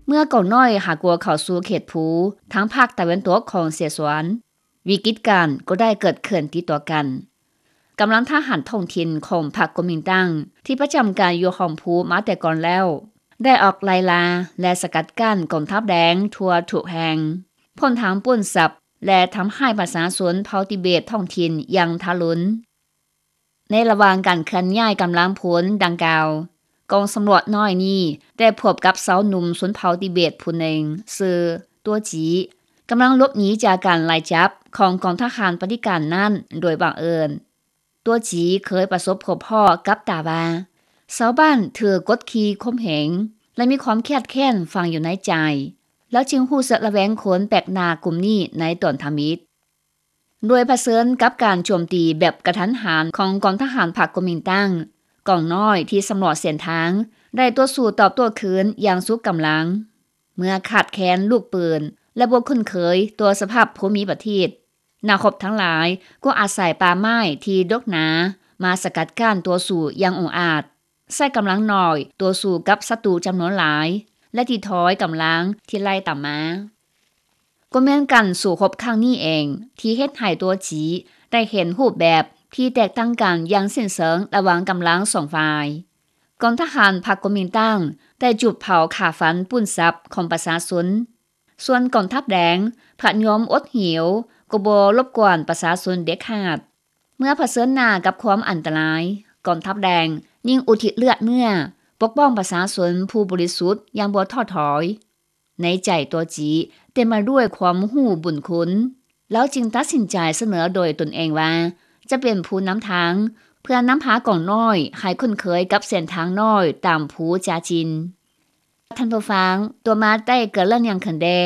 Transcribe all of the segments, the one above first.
ເມື່ອກອງນ້ອຍຫາກົວເຂົ້າສູ່ເຂດພູ ທາງພາກຕາເວັນຕົກຂອງເຊຊວນ, ວິກິດການກໍໄດ້ເກີດຂຶ້ນຕິດຕໍ່ກັນ. ກຳລັງທະຫານທ້ອງຖິ່ນຂອງພັກກົວມິນຕັງ ທີ່ປະຈຳການຢູ່ຫ້ອມພູມາແຕ່ກ່ອນແລ້ວ ໄດ້ອອກໄລ່ລ່າ ແລະ ສະກັດກັ້ນກອງທັບແດງທົ່ວທຸກແຫ່ງ, ພ້ອມທັງປຸ້ນຊັບ ແລະ ທຳຮ້າຍປະຊາຊົນເຜົ່າຕິເບດທ້ອງຖິ່ນຢ່າງທາຣຸນ. ໃນລະຫວ່າງການເຄື່ອນຍ້າຍກຳລັງພົນດັ່ງກ່າວ, ກອງສຳຫຼວດນ້ອຍນີ້ໄດ້ພົບກັບຊາວໜຸ່ມຊົນເຜົ່າຕິເບດຜູ້ໜຶ່ງ ຊື່ ຕົວຈີ ກຳລັງຫຼົບໜີຈາກການໄລ່ຈັບຂອງກອງທະຫານປະຕິການນັ້ນໂດຍບັງເອີນ. ຕົວຈີເຄີຍປະສົບພົບພໍ້ກັບຕາວ່າ ຊາວບ້ານຖືກກົດຂີ່ຂົ່ມເຫງ ແລະ ມີຄວາມຄຽດແຄ້ນຝັງຢູ່ໃນໃຈ, ລາວຈຶ່ງຮູ້ສຶກລະແວງຄົນແປກໜ້າກຸ່ມນີ້ໃນຕອນທຳອິດ. ໂດຍຜະເຊີນກັບການໂຈມຕີແບບກະທັນຫັນຂອງກອງທະຫານພັກກົວມິນຕັງ, ກອງນ້ອຍທີ່ສຳຫຼວດເສັ້ນທາງໄດ້ຕໍ່ສູ້ຕອບໂຕ້ຄືນຢ່າງສຸດກຳລັງ. ເມື່ອຂາດແຄນລູກປືນ ແລະ ບໍ່ຄຸ້ນເຄີຍຕໍ່ສະພາບພູມິປະເທດ, ນັກຮົບທັງຫຼາຍກໍອາໄສປ່າໄມ້ທີ່ດົກໜາມາສະກັດກັ້ນຕໍ່ສູ້ຢ່າງອົງອາດ, ໃຊ້ກຳລັງໜ້ອຍຕໍ່ສູ້ກັບສັດຕູຈຳນວນຫຼາຍ ແລະ ຕີຖອຍກຳລັງທີ່ໄລ່ຕາມມາ. ກໍແມ່ນການສູ້ຮົບຄັ້ງນີ້ເອງ ທີ່ເຮັດໃຫ້ຕົວຈີໄດ້ເຫັນຮູບແບບທີ່ແຕກຕ່າງກັນຢ່າງສິ້ນເຊີງລະຫວ່າງກຳລັງສອງຝ່າຍ. ກອງທະຫານພັກກົວມິນຕັງໄດ້ຈູດເຜົາຂ້າຟັນປຸ້ນຊັບຂອງປະຊາຊົນ, ສ່ວນກອງທັບແດງພັດຍອມອົດຫິວກໍບໍ່ລົບກວນປະຊາຊົນເດັດຂາດ. ເມື່ອຜະເຊີນໜ້າກັບຄວາມອັນຕະລາຍ, ກອງທັບແດງຍິ່ງອຸທິດເລືອດເນື້ອປົກປ້ອງປະຊາຊົນຜູ້ບໍລິສຸດຢ່າງບໍ່ທໍ້ຖອຍ. ໃນໃຈຕົວຈີເຕັມມາດ້ວຍຄວາມຮູ້ບຸນຄຸນ, ລາວຈຶ່ງຕັດສິນໃຈສະເໜີໂດຍຕົນເອງວ່າຈະເປັນຜູ້ນຳທາງ ເພື່ອນຳພາກອງນ້ອຍໃຫ້ຄຸ້ນເຄີຍກັບເສັ້ນທາງນ້ອຍຕາມພູຈາຈິນ. ທ່ານຜູ້ຟັງ, ຕໍ່ມາໄດ້ເກີດເລື່ອງຫຍັງຂຶ້ນແດ່?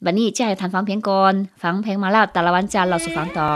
ບັດນີ້ຈະໃຫ້ທ່ານຟັງເພງກ່ອນ, ຟັງເພງມາແລ້ວແຕ່ລະວັນຈະເລົ່າສູ່ຟັງຕໍ່.